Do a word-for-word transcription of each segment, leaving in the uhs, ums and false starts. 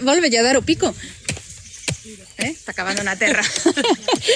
volve a dar o pico. Eh, está acabando na terra.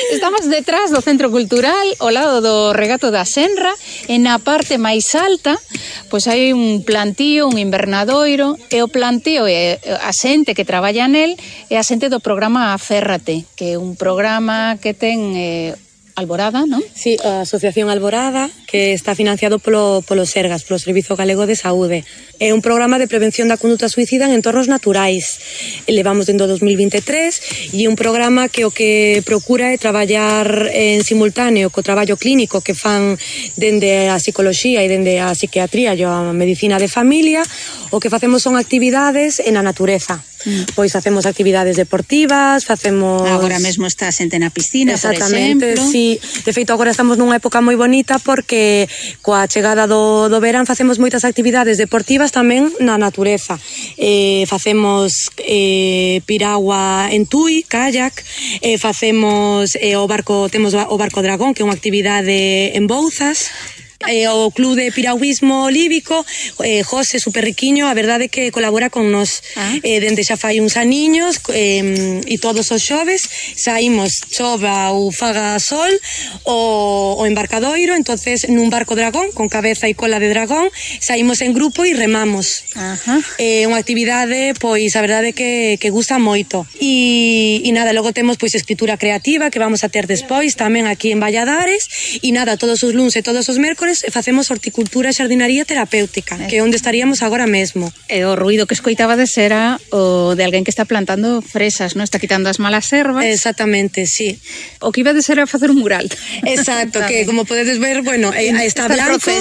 Estamos detrás do Centro Cultural, ao lado do Regato da Senra, e na parte máis alta, pois hai un plantío, un invernadoiro, e o plantío e a xente que traballa nel é a xente do programa Aférrate, que é un programa que ten eh, Alborada, non? Sí, a Asociación Alborada, que está financiado polo, polo Sergas, polo Servizo Galego de Saúde. É un programa de prevención da conduta suicida en entornos naturais. Levamos dentro do dos mil vinte e tres e é un programa que o que procura é traballar en simultáneo co traballo clínico que fan dende a psicoloxía e dende a psiquiatría e a medicina de familia. O que facemos son actividades en a natureza. Mm. Pois facemos actividades deportivas, facemos... Agora mesmo está a xente na piscina, por exemplo. Exactamente, sí. De feito, agora estamos nunha época moi bonita porque coa chegada do, do verán facemos moitas actividades deportivas tamén na natureza. Eh, facemos eh, piragua en Tui, kayak, eh, facemos eh, o barco, temos o barco Dragón, que é unha actividade en Bouzas. Eh, o Club de Piragüismo Líbico, eh, José, super riquiño, a verdade que colabora con nós. Ah. Eh, dende xa fai uns aniños eh, e todos os xoves saímos, chova ou faga sol, o, o embarcadoiro, entonces nun barco dragón, con cabeza e cola de dragón, saímos en grupo e remamos. Ajá. É eh, unha actividade, pois, a verdade que, que gusta moito. E, e nada, logo temos pois escritura creativa que vamos a ter despois tamén aquí en Valladares, e nada, todos os luns e todos os mércores facemos horticultura e xardinaría terapéutica, que é onde estaríamos agora mesmo. E o ruido que escoitabades era o de alguén que está plantando fresas, non? Está quitando as malas ervas. Exactamente, sí. O que ibades era facer un mural. Exacto, que como podedes ver, bueno, está, está blanco,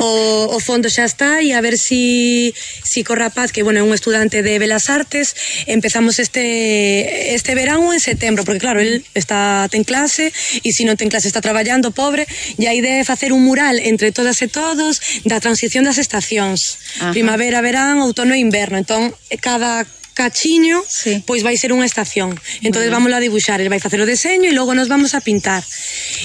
o, o fondo xa está, e a ver si, si co rapaz, que bueno, é un estudante de Belas Artes, empezamos este este verano en setembro, porque claro, el está ten clase, e se non ten clase está traballando, pobre, e a idea é facer un mural entre todas e todos da transición das estacións. Ajá. Primavera, verán, outono e inverno. Entón, cada cachiño, sí, pois vai ser unha estación. Entón, vamos a dibuixar, el vai facer o deseño e logo nos vamos a pintar.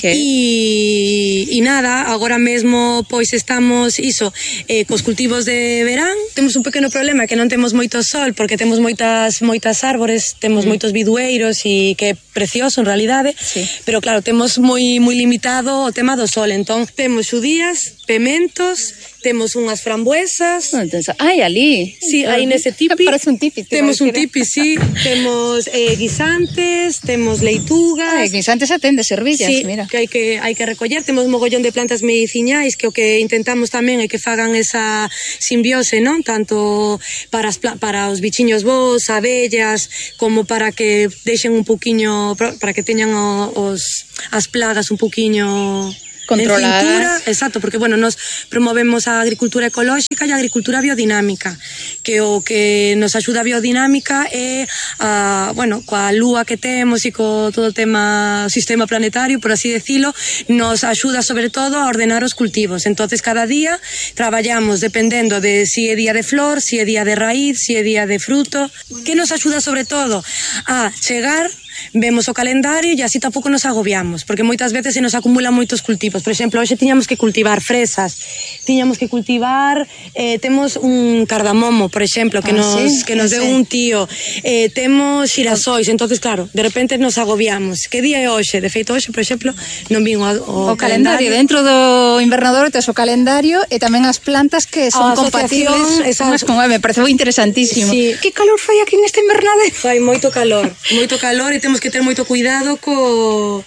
E, e nada, agora mesmo pois estamos iso, eh, cos cultivos de verán. Temos un pequeno problema que non temos moito sol porque temos moitas moitas árbores, temos mm. moitos bidueiros e que é precioso en realidade, sí, pero claro, temos moi moi limitado o tema do sol. Entón, temos xudías, pementos, temos unhas frambuesas. Ai, ali. Sí, aí nese tipi. Parece un tipi. Temos un tipi, sí. Temos eh, guisantes, temos leitugas. Ai, guisantes atende servillas, sí, mira. Que hai que hai que recoller. Temos mogollón de plantas mediciñais que o que intentamos tamén é que fagan esa simbiose, non? Tanto para as para os bichiños vos, abellas, como para que deixen un poquiño, para que teñan os as plagas un poquiño controladas. En cintura, exacto, porque bueno, nos promovemos a agricultura ecolóxica e a agricultura biodinámica, que o que nos axuda a biodinámica é a, bueno, coa lúa que temos e co todo o tema sistema planetario, por así decilo, nos axuda sobre todo a ordenar os cultivos. Entonces cada día traballamos dependendo de si é día de flor, si é día de raíz, si é día de fruto, que nos axuda sobre todo a chegar, vemos o calendario e así tampouco nos agobiamos, porque moitas veces se nos acumulan moitos cultivos. Por exemplo, hoxe tiñamos que cultivar fresas, tiñamos que cultivar, eh, temos un cardamomo, por exemplo, que ah, nos, sí, que nos sí, deu sí. un tío, eh, temos xirasois, entonces claro, de repente nos agobiamos. Que día é hoxe? De feito, hoxe, por exemplo, non vin o, o, o calendario. calendario. Dentro do invernador tes o calendario e tamén as plantas que son compatibles unhas con me parece moi interesantísimo. Sí. Que calor fai aquí neste invernadero? Fai moito calor, moito calor e temos que ter moito cuidado co...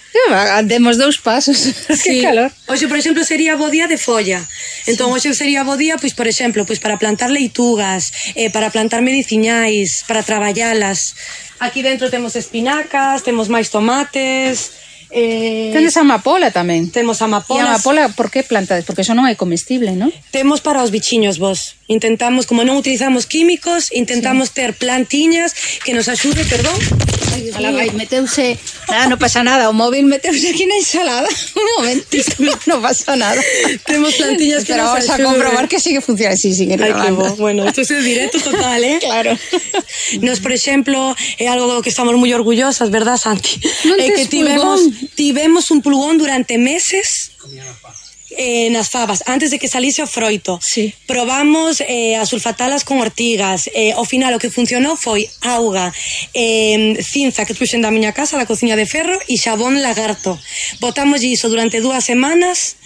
Demos dous pasos. Sí. Que calor. Hoxe, por exemplo, sería bo día de folla. Entón, hoxe sería bo día, pois, por exemplo, pois para plantar leitugas, eh, para plantar mediciñais, para traballalas. Aquí dentro temos espinacas, temos máis tomates... Eh, Tendes amapola tamén. Temos amapolas. E a amapola, por que plantades? Porque eso non é comestible, non? Temos para os bichiños vos. Intentamos, como non utilizamos químicos, intentamos sí. ter plantiñas que nos axude, perdón. Ai, Ala, vai, meteuse, nada, non pasa nada, o móvil meteuse aquí na ensalada. Un momentito, non pasa nada. Temos plantiñas que nos axuden. Pero vamos a comprobar que sigue funcionando, sí, sigue grabando. Ai, que bo. Bueno, isto é directo total, eh? Claro. Nos, por exemplo, é algo do que estamos moi orgullosas, verdad, Santi? Non é que tivemos, tivemos un pulgón durante meses. eh, nas fabas, antes de que salise o froito. Sí. Probamos eh, a sulfatalas con ortigas. Eh, ao final o que funcionou foi auga, eh, cinza que truxen da miña casa, da cociña de ferro, e xabón lagarto. Botamos iso durante dúas semanas,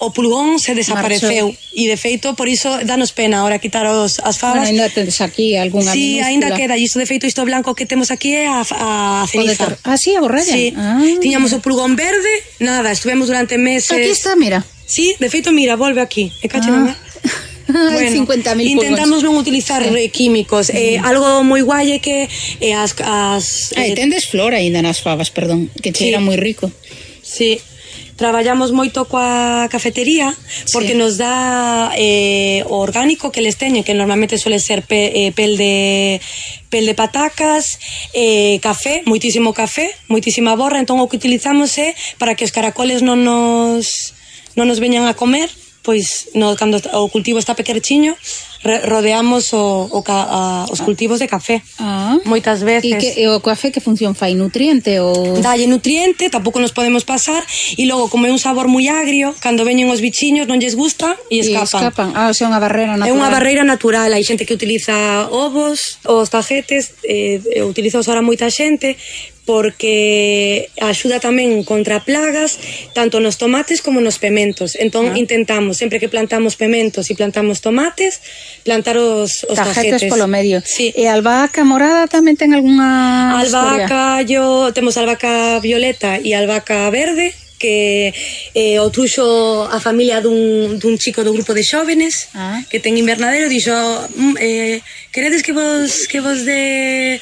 o pulgón se desapareceu. Marchou. E de feito, por iso danos pena ahora quitar os, as fabas. Bueno, ainda tedes aquí algunha sí, minúscula. Sí, ainda queda, e iso de feito isto blanco que temos aquí é a, a ceniza. Ah, sí, a borralla. Sí. Ah. Tiñamos o pulgón verde, nada, estuvemos durante meses. Aquí está, mira. Sí, de feito, mira, volve aquí. E cacho ah. Bueno, cincuenta mil intentamos non utilizar sí. químicos. Eh, mm. Algo moi guai é que eh, as... as ah, eh, tendes flor aínda nas fabas, perdón, que cheira sí. moi rico. Sí. Traballamos moito coa cafetería porque sí. nos dá eh, o orgánico que les teñen, que normalmente suele ser pe, eh, pel de pel de patacas, eh, café, moitísimo café, moitísima borra, entón o que utilizamos é para que os caracoles non nos non nos veñan a comer, pois no, cando o cultivo está pequerchiño, rodeamos o, o, a, os cultivos de café. Ah. Moitas veces. E, que, e o café que función fai? Nutriente? Ou... Dalle nutriente, tampouco nos podemos pasar, e logo, como é un sabor moi agrio, cando veñen os bichiños non lles gusta e escapan. E escapan. Ah, o sea, unha barreira natural. É unha barreira natural. Hai xente que utiliza ovos, os tajetes, eh, utiliza ahora moita xente, porque axuda tamén contra plagas tanto nos tomates como nos pementos. Entón ah. intentamos, sempre que plantamos pementos e plantamos tomates, plantar os, os tajetes. Tajetes polo medio. Sí. E a albahaca morada tamén ten algunha albahaca, yo, temos albahaca violeta e albahaca verde, que eh, o truxo a familia dun, dun chico do grupo de xóvenes ah. que ten invernadero, dixo eh, queredes que vos, que vos de...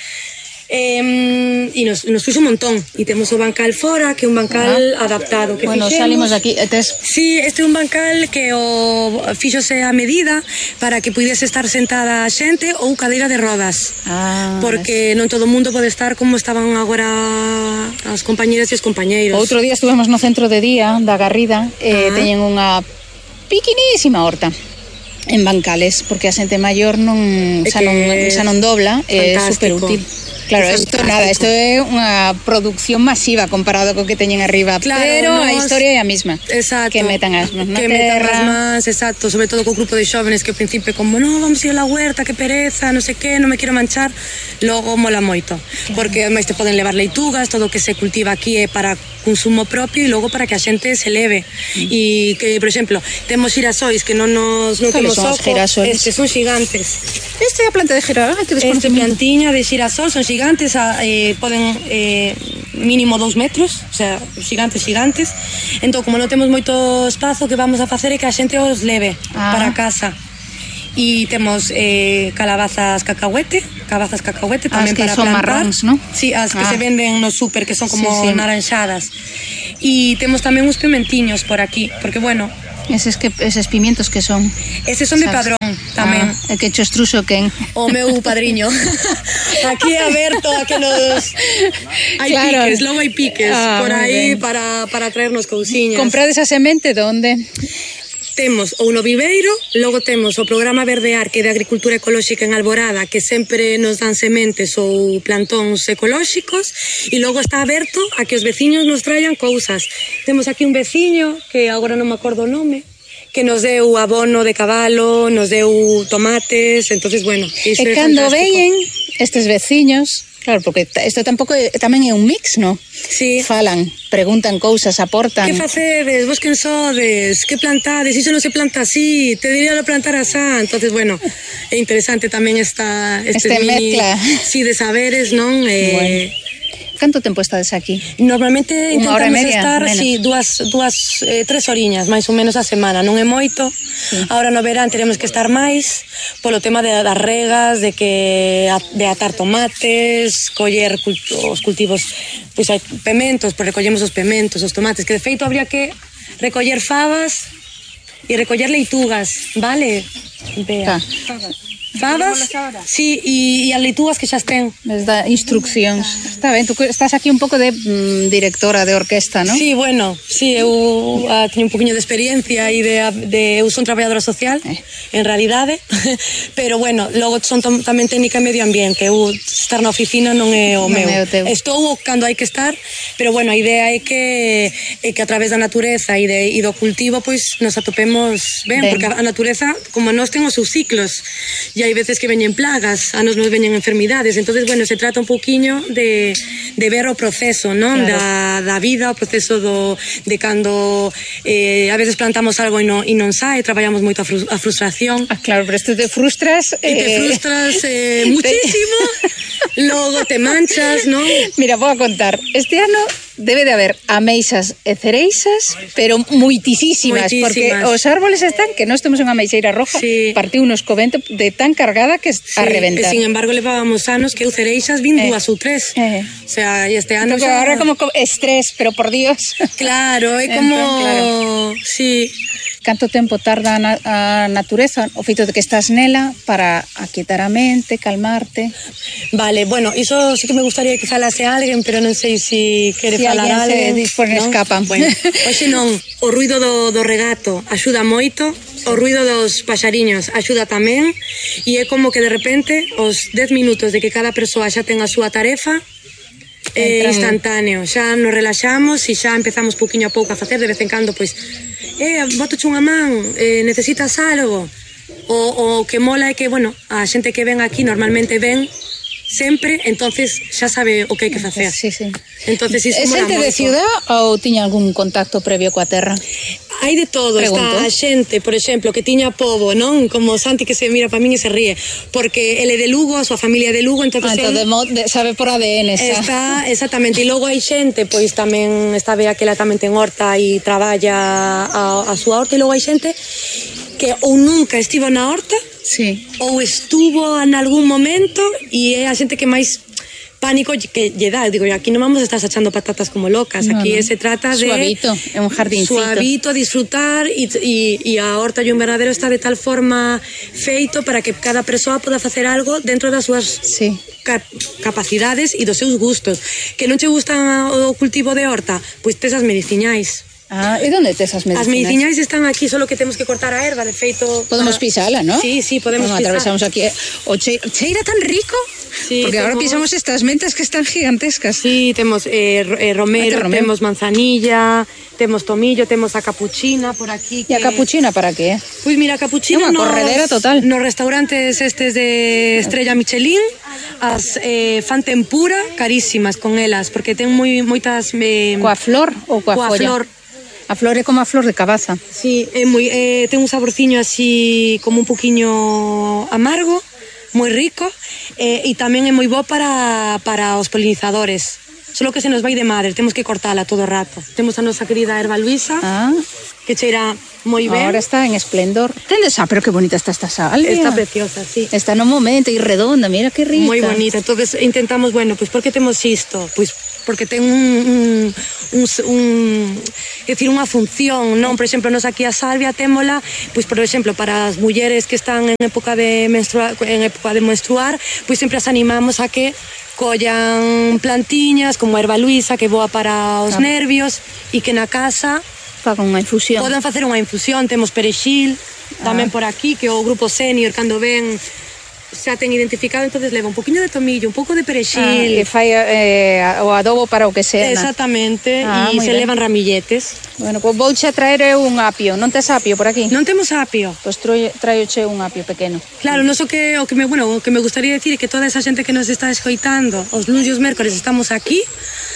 Eh, e nos, nos puxo un montón e temos o bancal fora, que é un bancal uh-huh. adaptado que bueno, fixemos. Salimos aquí tes... Sí, este é un bancal que o fíxose a medida para que puidese estar sentada a xente ou cadeira de rodas ah, porque es... non todo o mundo pode estar como estaban agora as compañeras e os compañeiros. Outro día estuvemos no centro de día da Garrida e uh-huh. teñen unha piquinísima horta en bancales, porque a xente maior non xa non, xa non dobla, é super útil. Claro, isto nada, isto é unha produción masiva comparado co que teñen arriba, claro, pero nos... a historia é a mesma. Exacto. Que metan as mans na que terra. metan as mans, exacto, sobre todo co grupo de xóvenes que ao principio como, no, vamos ir a la huerta, que pereza, non sei que, non me quero manchar, logo mola moito, claro. Porque máis te poden levar leitugas, todo o que se cultiva aquí é para consumo propio e logo para que a xente se leve. Mm. E que, por exemplo, temos xirasois que non nos non temos oco, estes son xigantes. Esta é a planta de girasol, esta plantiña de xirasol son gigantes, eh, poden eh, mínimo dous metros, o sea, gigantes, gigantes. Entón, como non temos moito espazo, que vamos a facer é que a xente os leve ah. para casa. E temos eh, calabazas cacahuete, calabazas cacahuete tamén para son plantar. Marróns, ¿no? Sí, as que ah. se venden no súper, que son como sí, sí. naranxadas. E temos tamén uns pimentiños por aquí, porque bueno... Eses, que, eses pimientos que son? Eses son de Padrón tamén. Ah, que cho estruxo quen? O meu padriño. Aquí é aberto a que nos... Hai claro. piques, logo hai piques ah, por aí para, para traernos cousiñas. Comprades a semente donde? Temos ou no viveiro, logo temos o programa Verdear, que é de agricultura ecolóxica en Alborada, que sempre nos dan sementes ou plantóns ecolóxicos, e logo está aberto a que os veciños nos traian cousas. Temos aquí un veciño, que agora non me acordo o nome, que nos deu abono de cabalo, nos deu tomates, entonces bueno, iso é cando veñen estes veciños, claro, porque isto tampouco é, tamén é un mix, non? Sí. Falan, preguntan cousas, aportan. Que facedes? Vos quen sodes? Que plantades? Iso non se planta así, te diría lo plantar asá. Entonces, bueno, é interesante tamén esta este, este mini, mezcla. Sí, de saberes, non? Eh, bueno. Canto tempo estades aquí? Normalmente intentamos media, estar menos. sí, dúas, dúas eh, tres oriñas, máis ou menos a semana. Non é moito. Sí. Ahora no verán teremos que estar máis polo tema de, das regas, de que de atar tomates, coller cult, os cultivos, pois hai pementos, pois recollemos os pementos, os tomates, que de feito habría que recoller fabas e recoller leitugas, vale? Vea. Fabas, sí, e as leitúas que xa estén. Les da instruccións. Está ben, tú estás aquí un pouco de mm, directora de orquesta, non? Sí, bueno, sí, eu uh, teño un poquinho de experiencia e de, de eu son traballadora social, eh. en realidade, pero bueno, logo son tam, tamén técnica e medio ambiente, eu estar na oficina non é o non meu. É o teu. Estou cando hai que estar, pero bueno, a idea é que é que a través da natureza e, de, e do cultivo, pois nos atopemos ben, ben, porque a natureza, como nós ten os seus ciclos, e hai veces que veñen plagas, a nos nos veñen enfermidades, entonces bueno, se trata un pouquiño de, de ver o proceso, non? Claro. Da, da vida, o proceso do, de cando eh, a veces plantamos algo e non, e non sae, traballamos moito a, fru, a frustración. Ah, claro, pero esto te frustras... Eh... E te frustras eh, muchísimo, logo te manchas, non? Mira, vou a contar, este ano debe de haber ameixas e cereixas, pero muitísimas, porque os árboles están, que nós temos unha ameixeira roja, sí. Partiu unos co vento de tan cargada que sí, a reventar. E sin embargo levábamos anos que eu cereixas vin eh. dúas ou tres. Eh. O sea, este ano xa... Ahora como estrés, pero por Dios. Claro, é como... Entón, claro. Sí. Canto tempo tarda a, na a natureza, o feito de que estás nela, para aquietar a mente, calmarte? Vale, bueno, iso sí que me gustaría que falase alguén, pero non sei se si quere si falar alguén. Se dispone, ¿no? Escapan. Bueno, hoxe non, o ruido do, do regato axuda moito, o ruido dos paxariños axuda tamén, e é como que de repente os dez minutos de que cada persoa xa ten a súa tarefa, é eh, instantáneo, xa nos relaxamos e xa empezamos pouquiño a pouco a facer, de vez en cando, pois, eh, botoche unha man, eh, necesitas algo, o, o que mola é que, bueno, a xente que ven aquí normalmente ven sempre, entonces xa sabe o que hai que facer. Sí, sí. Entonces, iso é xente de ciudad ou tiña algún contacto previo coa terra? Hai de todo. Pregunto. Está a xente, por exemplo, que tiña pobo, non? Como Santi que se mira para min e se ríe, porque ele é de Lugo, a súa familia é de Lugo, entonces ah, ele... de, de, sabe por A D N xa. Está, exactamente, e logo hai xente, pois tamén está Bea que ela tamén ten horta e traballa a, a súa horta, e logo hai xente que ou nunca estivo na horta, sí, ou estuvo en algún momento, e é a xente que máis pánico que lle dá, digo, aquí non vamos a estar sachando patatas como locas, no, aquí no. Se trata de suavito, é un jardincito, suavito, disfrutar, e, e, e a horta e o invernadero está de tal forma feito para que cada persoa poda facer algo dentro das súas sí. cap capacidades e dos seus gustos. Que non che gustan o cultivo de horta, pois tes as mediciñais. Ah, e onde tes as medicinas? As mediciñais están aquí, solo que temos que cortar a erva, de feito... Podemos para... pisala, ¿no? Sí, sí, podemos bueno, pisar. Atravesamos aquí. O che... cheira tan rico, sí, porque temos... agora pisamos estas mentas que están gigantescas. Sí, temos eh, eh, romero, romero, temos manzanilla, temos tomillo, temos a capuchina por aquí. Que... E a capuchina para que? Pois mira, a capuchina... É unha nos... corredera total. Nos restaurantes estes de Estrella Michelin, as eh, fan tempura carísimas con elas, porque ten moi moitas... Eh, coa flor ou coa, coa folla? Flor. A flor é como a flor de cabaza. Sí, é moi, eh, ten un saborciño así como un poquiño amargo, moi rico, eh, e tamén é moi bo para, para os polinizadores. Solo que se nos vai de madre, temos que cortala todo o rato. Temos a nosa querida erva Luisa, ah. que cheira moi ben. Ahora está en esplendor. Tendes, ah, pero que bonita está esta salvia. Está preciosa, sí. Está no momento e redonda, mira que rica. Moi bonita. Entonces intentamos, bueno, pois pues, por que temos isto? Pois pues, porque ten un, un, un, un é dicir, unha función, non? Por exemplo, nos aquí a salvia témola, pois por exemplo, para as mulleres que están en época de menstruar, en época de menstruar, pois sempre as animamos a que collan plantiñas como a erva Luisa, que boa para os ah. nervios, e que na casa fagan unha infusión. Poden facer unha infusión, temos perexil, ah. tamén por aquí, que o grupo senior cando ven xa ten identificado, entonces leva un poquinho de tomillo, un pouco de perexil. Ah, e fai eh, o adobo para o que sea. Exactamente, ah, e se ben. Levan ramilletes. Bueno, pois pues vouche a traer un apio. Non tes apio por aquí? Non temos apio. Pois pues traioche un apio pequeno. Claro, non so que o que me, bueno, o que me gustaría decir é que toda esa xente que nos está escoitando, os luns e os mércores estamos aquí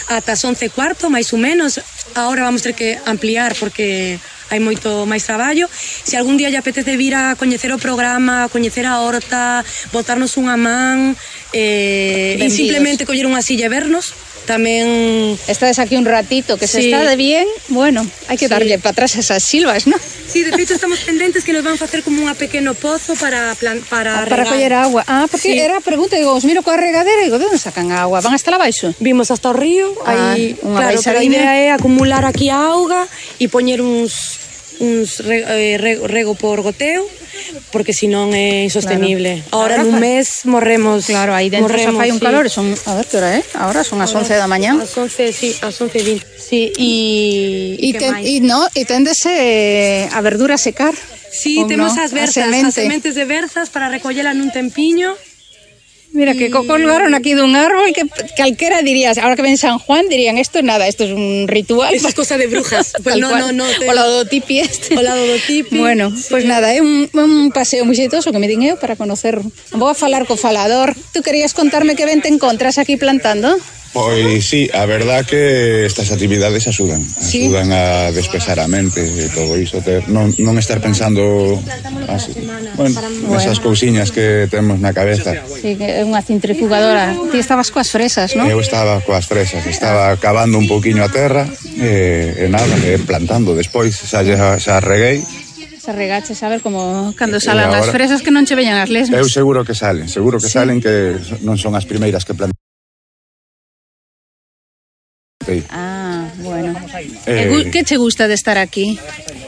ata as once e cuarto, máis ou menos. Agora vamos ter que ampliar porque hai moito máis traballo. Se algún día lle apetece vir a coñecer o programa, a coñecer a horta, botarnos unha man, eh, e simplemente coller unha silla e vernos, tamén... Estades aquí un ratito, que se sí. Está de bien, bueno, hai que darlle sí. Para atrás esas silvas, ¿no? Sí, de feito estamos pendentes que nos van facer como unha pequeno pozo para plan, para, ah, para coller agua. Ah, porque sí. Era a pregunta, digo, os miro coa regadera e digo, de onde sacan a agua? Van hasta la baixo? Vimos hasta o río, ah, aí, claro, pero a idea é acumular aquí a auga e poñer uns uns rego, eh, rego, rego por goteo porque senón é insostenible. Claro. Ahora nun mes morremos. Claro, aí dentro morremos, xa fai un sí. calor, son, a ver que hora é? Ahora son as once da mañá. As once, sí, as once e vinte. Sí, e E te, e no, e téndese a verdura a secar. Sí, temos no? as berzas, as sementes de berzas para recollela nun tempiño. Mira, que colgaron aquí dun árbol que calquera dirías, ahora que ven San Juan, dirían, esto es nada, esto es un ritual. Esto es cosa de brujas. Pues no, no, no. Te... O la do tipi este. O la do tipi. Bueno, sí. Pues nada, é un, un paseo moi xeitoso que me din eu para conocer. Vou a falar co falador. Tú querías contarme que ben te encontras aquí plantando? Pois sí, a verdad que estas actividades axudan, axudan ¿Sí? a despexar a mente e todo iso, ter, non, non estar pensando así, bueno, nesas cousiñas que temos na cabeza. Sí, que é unha centrifugadora. Ti estabas coas fresas, non? Eu estaba coas fresas, estaba cavando un pouquiño a terra e, e nada, e plantando despois, xa, xa reguei. Se regaches a ver como cando salan as fresas que non che veñan as lesmas. Eu seguro que salen, seguro que sí. salen que non son as primeiras que plantan. Ah, bueno. Eh, que che gusta de estar aquí?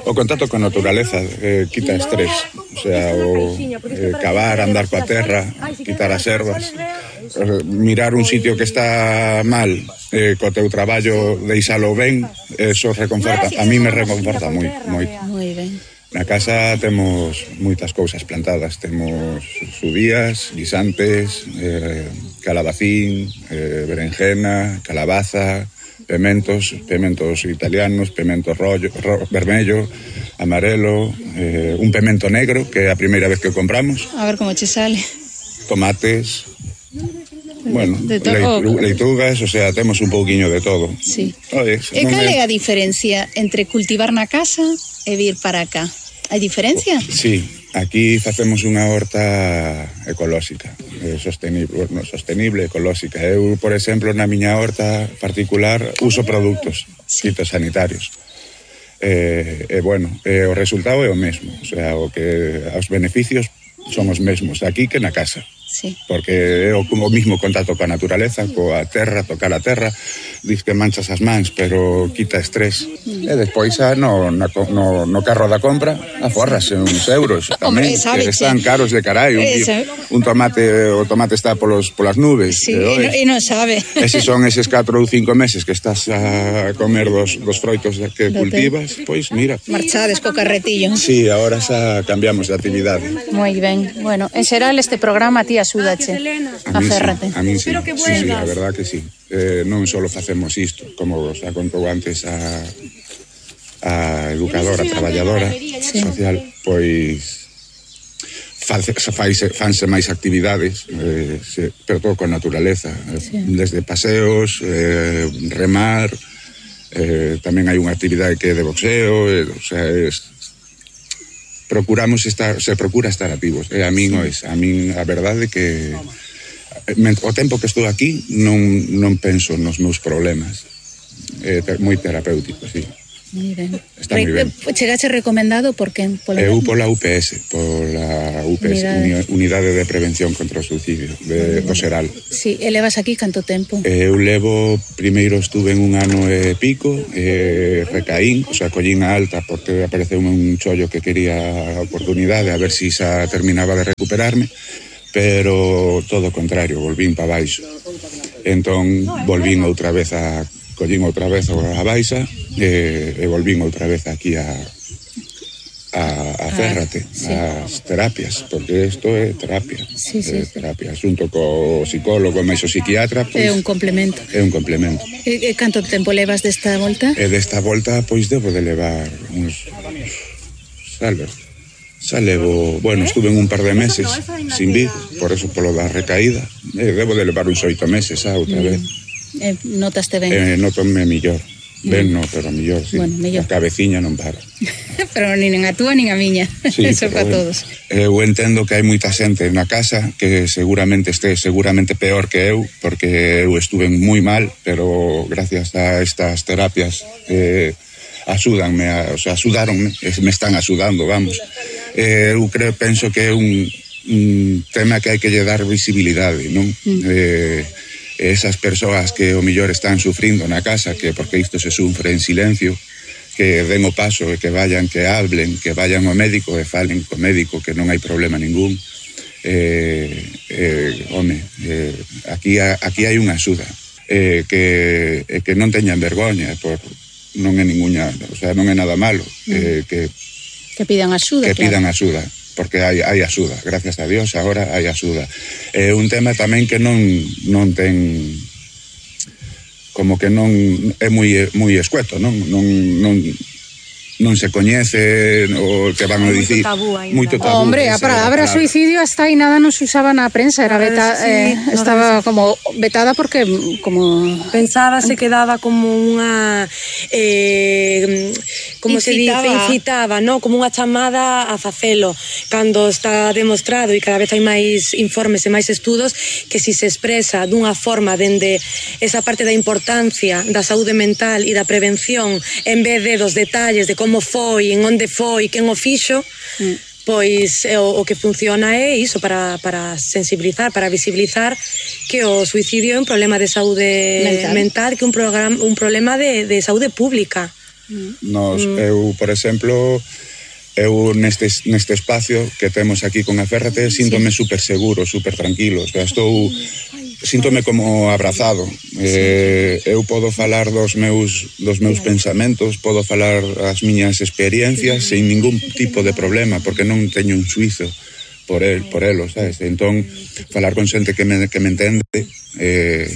O contacto con a naturaleza, eh, quita estrés. O sea, o eh, cavar, andar coa terra, quitar as ervas, eh, mirar un sitio que está mal, eh, co teu traballo, deixalo ben, eso reconforta. A mí me reconforta moi, moi. Moi ben. Na casa temos moitas cousas plantadas, temos sudías, guisantes, eh, calabacín, eh, berenjena, calabaza, pementos, pementos italianos, pemento rollo, ro, vermello, amarelo, eh, un pemento negro, que é a primeira vez que o compramos. A ver como che sale. Tomates, bueno, de leitu, leitugas, o sea, temos un pouquiño de todo. Sí. Oye, e cal é a diferencia entre cultivar na casa e vir para acá? Hai diferencia? Sí, aquí facemos unha horta ecolóxica, eh, sostenible, bueno, sostenible, ecolóxica. Eu, por exemplo, na miña horta particular uso produtos sí. fitosanitarios. E, eh, eh, bueno, eh, o resultado é o mesmo, o sea, o que os beneficios son os mesmos aquí que na casa. Sí. Porque é o, o mismo contacto coa naturaleza, coa terra, tocar a terra, diz que manchas as mans, pero quita estrés. Mm. E despois a, no, no, no, no carro da compra aforrase uns euros tamén, Hombre, que están caros de carai. Un, un tomate, o tomate está polos, polas nubes. Sí, e non sabe. E se son eses catro ou cinco meses que estás a comer dos, dos froitos que do cultivas, te... pois mira. Marchades co carretillo. Sí, agora xa cambiamos de actividade. Moi ben. Bueno, en xeral este programa, tía, axúdache a férrate. A mí sí, a mí sí, sí, sí, a verdad que sí. Eh, non só facemos isto, como xa contou antes a, a educadora, a traballadora sí. social, pois faise, faise, fanse máis actividades, eh, se, pero todo con naturaleza, sí. desde paseos, eh, remar, eh, tamén hai unha actividade que é de boxeo, eh, o sea, es, procuramos estar, se procura estar activos. E a min, sí. a min a verdade que o tempo que estou aquí non, non penso nos meus problemas. É moi terapéutico, sí. Moi ben. Está moi ben. Chegache recomendado por que? Eu pola U P S, pola U P S, Unidade, Unidade de Prevención contra o Suicidio, de, do Seral. Sí, e levas aquí canto tempo? Eu levo, primeiro estuve en un ano e pico, e recaín, o sea, collín a alta porque apareceu un chollo que quería a oportunidade, a ver si xa terminaba de recuperarme, pero todo o contrario, volvín para baixo. Entón, volvín outra vez a collín outra vez a baixa e, e volvín outra vez aquí a a, a Férrate, ah, sí. as terapias, porque isto é terapia, sí, sí, é terapia, xunto co psicólogo, máis o psiquiatra, pois, é un complemento. É un complemento. E, e canto tempo levas desta volta? E desta volta, pois, debo de levar uns, salve, xa levo, bueno, estuve en un par de meses sin vir, por eso polo da recaída, e debo de levar uns oito meses xa outra mm. vez. Eh, notaste ben? Eh, notome millor. Ben, no, pero mellor, sí. Bueno, mellor. A cabeciña non para. Pero nin a túa nin a miña. Sí, eso para bueno, todos. Eu entendo que hai moita xente na casa que seguramente este seguramente peor que eu, porque eu estuve moi mal, pero gracias a estas terapias eh, axúdanme, a, o sea, axudaronme, me están axudando, vamos. Eh, eu creo, penso que é un, un tema que hai que lle dar visibilidade, non? Mm. Eh, esas persoas que o mellor están sufrindo na casa, que porque isto se sufre en silencio, que den o paso e que vayan, que hablen, que vayan ao médico e falen co médico, que non hai problema ningún. Eh, eh, home, eh, aquí, aquí hai unha axuda. Eh, que, eh, que non teñan vergoña, por, non é ninguna, o sea, non é nada malo. Mm. Eh, que, que pidan axuda, que claro. pidan axuda. Porque hai, hai axuda, gracias a Dios, agora hai axuda. É un tema tamén que non, non ten, como que non é moi, moi escueto, non, non, non, non se coñece o que van a dicir. Moito tabú ainda. Moito tabú. Hombre, a palabra suicidio hasta aí nada non se usaba na prensa, era beta, sí, eh, estaba como vetada porque como pensaba se quedaba como unha eh, como se dice, incitaba, no, como unha chamada a facelo, cando está demostrado e cada vez hai máis informes e máis estudos que si se expresa dunha forma dende esa parte da importancia da saúde mental e da prevención en vez de dos detalles de como foi, en onde foi, quen o fixo, mm. pois o, o que funciona é iso para, para sensibilizar, para visibilizar que o suicidio é un problema de saúde mental, mental que é un, programa, un problema de, de saúde pública. Mm. Nos, mm. eu, por exemplo, eu neste, neste espacio que temos aquí con a Férrate síntome sí. super seguro, super tranquilo, o sea, estou síntome como abrazado. Eh, eu podo falar dos meus dos meus pensamentos, podo falar as miñas experiencias sin ningún tipo de problema, porque non teño un suizo por el, por elo, sabes? Entón, falar con xente que me, que me entende eh,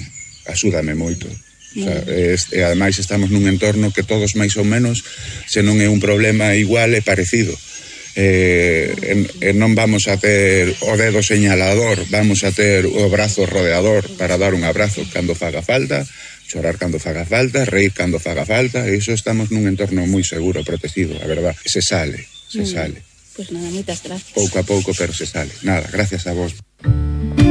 axúdame moito. O sea, e ademais estamos nun entorno que todos máis ou menos, se non é un problema igual, é parecido. Eh, en, en non vamos a ter o dedo señalador, vamos a ter o brazo rodeador para dar un abrazo cando faga falta, chorar cando faga falta, reír cando faga falta, e iso estamos nun entorno moi seguro, protegido, a verdad. Se sale, se sale. Pues nada, moitas gracias. Pouco a pouco, pero se sale. Nada, gracias a vos.